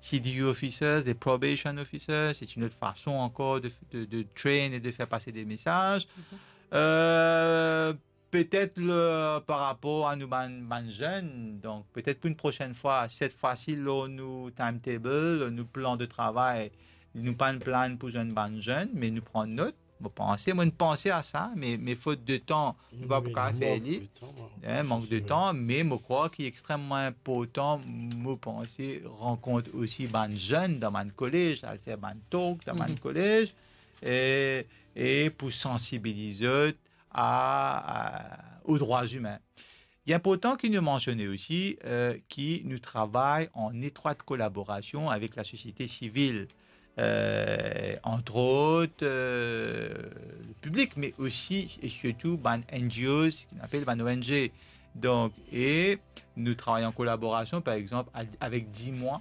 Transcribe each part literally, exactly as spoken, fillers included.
C D U officers, des probation officers, c'est une autre façon encore de, de, de train et de faire passer des messages. Euh, peut-être le, par rapport à nou bann, bann zenn, donk peut-être pou enn prosenn fwa, set fwa si lor nou timetable, lor nou plan de travay, nou pa'nn plan pou zwenn bann zenn, me nou pran not. Mo panse, mo'nn panse a sa, me, me fot de tan, nou pa pou kapav fer li. Mank de tan, me mo krwar ki extrememan inportan, mo panse, rankont osi bann zenn dan bann kolez, al fer bann talk dan bann kolez, e, e pou sansibiliz zot a, a, aux droits humains. Li inportan ki nou mansione osi, euh, ki nou travay an etrwat kolaborasion avek lasosiete sivil, euh, entre autres, euh, le piblik, me osi e sirtou bann N G Os, ki nou apel bann O N G. Donk, e nou travay an kolaborasion, par exanp, a-, avek Dis-moi,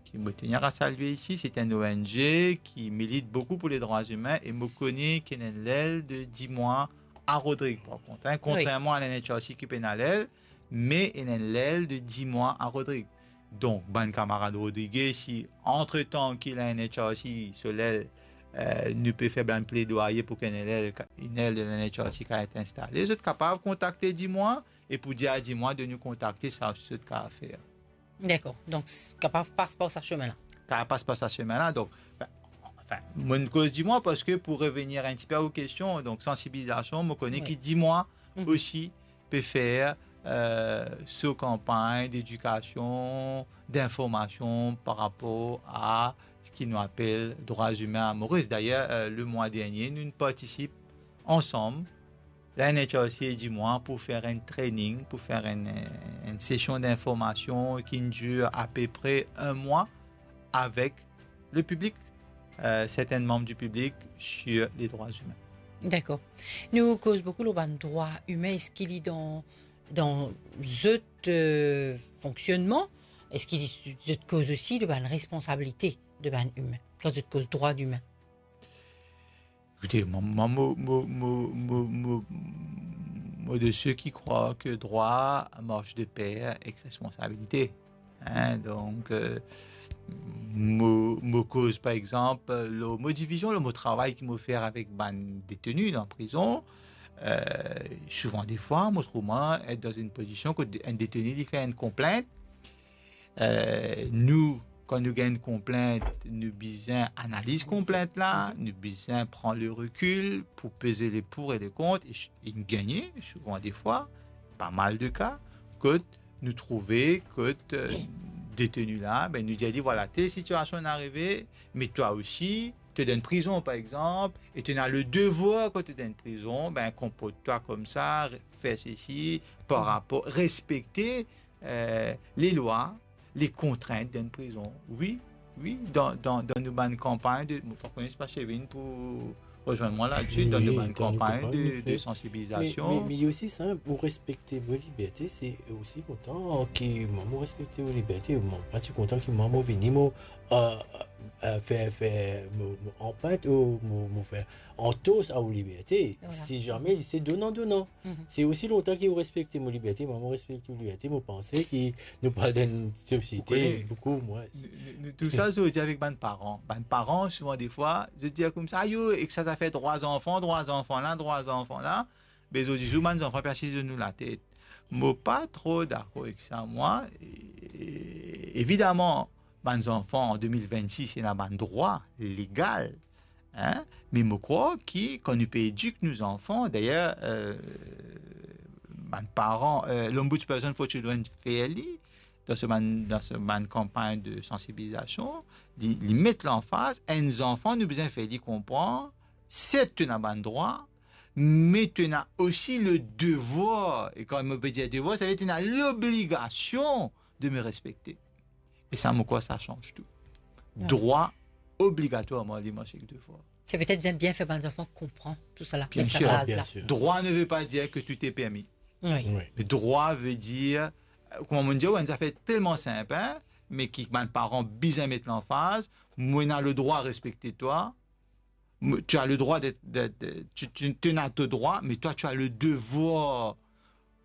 ki mo tenir a salye isi, se enn O N G ki milit boukou pou ledrwa imin, e mo kone ki ena enn lel de Dis-moi a Rodrig, par kont, hein, kontrerman a la N H R C ki pena lel, me ena enn lel de Dis-moi a Rodrig. Donk, bann kamarad Rodrig, si antretan ki la N H R C so lel, euh, nou pe fer bann pledwaye pou ki enn lel, enn lel de la N H R C kapav et instale, zot kapav kontakte Dis-moi, e pou dir a Dis-moi de nou kontakte, sa osi zot kapav fer. Dakor. Donk, s-, kapav pas par sa semin la. Kapav pas par sa semin la. Donk, anfin, anfin, mo'nn koz Dis-moi parski pou revenir enn tipe a ou kestion, donk sansibilizasion, mo kone ki Dis-moi osi pe fer, euh, so kanpagn dedikasion, dinformasion par rapor a seki nou apel drwa imin a Moris. Dayer, euh, lemwa dernie, nou partisip ansam, la N H R C e Dis-moi pou fer enn training, pou fer enn, enn sesion dinformasion ki'nn dir apepre enn mwa avek le piblik, euh, sertin manm di piblik sir ledrwa imin. Dakor. Nou koz boukou lor bann drwa imin, eski li dan, dan zot, euh, fonksionnman, eski li, zot koz osi de bann responsabilite de bann imin, kan zot koz drwa imin? Ekoute, mwa, mwa, mo, mo de seki krwar ki drwa mars de per ek responsabilite. Hein, donk, euh, mo, mo koz, par exanp, lor mo divizion, lor mo travay ki mo fer avek bann deteni dan prizon. Euh, souvan defwa, mo trouv mwa et dan enn pozision kot enn deteni, li fer enn konplint, euh, nou, kan nou gagn enn konplint, nou bizin analiz konplint la, nou bizin pran le rekil pou peze le pour et le kont, e, e nou gagne, souvan defwa, pa mal de ka, kot nou trouve kot, euh, deteni la, be, nou dir li, vwala, tel sitiasion inn arive, me twa osi, to dan prizon, par exanp, e to ena le devwar, kan to dan prizon, be, konport twa koumsa, fer sesi, par rapor, respekte, euh, lalwa, le kontrint dan prizon. Wi, wi, dan, dan, dan nou bann kanpagn de, mo pa kone si pa Chevin pou rezwenn mwa ladsi, dan nou bann kanpagn de, de sansibilizasion. Me, me, me li osi sinp, ou respekte mo liberte, se osi kontan ki mwa mo respekte mo liberte. Mwa, pa ti kontan ki mwa mo vini, mo, euh, euh, fer, fer, mo, mo anpint, ou mo, mo fer antos a ou liberte. Vwala. Si zame li se donan, donan. Se osi lontan ki ou respekte mo liberte, mwa mo respekte ou liberte, mo panse ki nou pe al dan enn sosiete boukou mwins. Nou, nou, nou trouv sa zordi avek bann paran. Bann paran, souvan defwa, zot dir koumsa, "Ayo, ek sa zafer drwa zanfan, drwa zanfan la, drwa zanfan la." Me zordi zour, bann zanfan pe asiz lor nou latet. Mo pa tro dakor ek sa, mwa. E, e, evidaman, bann zanfan an de mil vennsis, ena bann drwa legal, hein? Me mo krwar ki kan nou pe edik nou zanfan, dayer, euh, bann paran, euh, l'Ombudsperson for Children fer li, dan so bann, dan so bann kanpagn de sansibilizasion, li, li met lanfaz, enn zanfan, nou bizin fer li konpran, set to ena bann drwa, me to ena osi le devwar, e kan mo pe dir devwar, savedir to ena lobligasion de me respekte. E sa, mo krwar sa sanz tou. Wi. Drwa obligatwarman li mars ek devwar. Se petet bien, bien fer bann zanfan konpran tousala, met sa baz la. Bien sir. Bien sir. Droit ne veut pas dire que tout est permis. Wi. Wi. Me drwa ve dir, euh, kouma mo dir, enn zafer telman sinp, hein, me ki bann paran bizin met lanfaz, mo ena le drwa respekte twa, mo, tu as le droit d'être, d'être, de, tu, tu, tu as ton droit, mais toi, tu as le devoir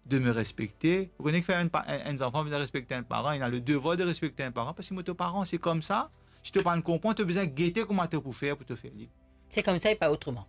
de me respecter. Ou kone ki fer enn pa-, enn, enn zanfan bizin respekte enn paran, il a le devoir de respecter un parent, parski mo to paran, se koumsa. Si to pa'nn konpran, to bizin gete kouma to pou fer pou to fer li. C'est comme ça et pas autrement.